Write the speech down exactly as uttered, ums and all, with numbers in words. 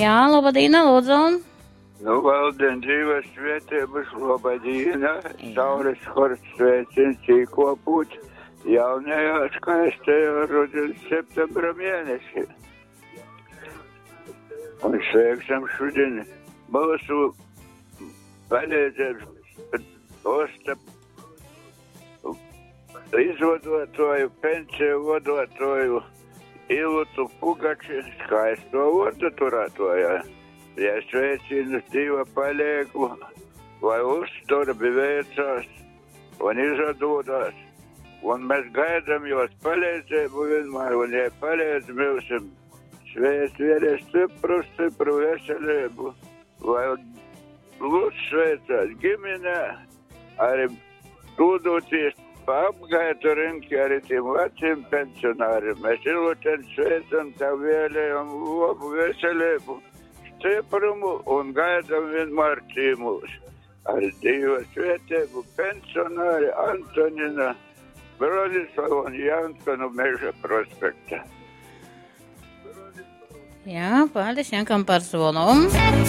Jā, laba diena, lūdzu. Nu, valdien dzīves svētības, laba diena. Saules hors sveicins īkopūt jaunajā skaistajā rudens septembra mēnesī. Un sveiksim šodien mūsu palīdzības posta izvadotoju, pensiju vadotoju Ilutu Pugači, skaisto vārdu turētoju. Ja sveicinu Dieva palīgu, lai uzturbi veicās un izdodas. Un mēs gaidām jos palīdzību vienmēr, un ja palīdz mums, sveic vienai stipru, stipru veselību, lai lūdzu sveicās ģimenē, arī dūdoties pa apgaitu rinki arī tiem veciem pensionāriem. Mēs Iluten sveicam, tev vēlējam labu veselību, stiprumu un gaidām vienmēr cīmūs. Ar Dieva svētību pensionāri Antonina Bronislava un Janka no Meža prospekta. Jā, paldies Jankam par zvanu.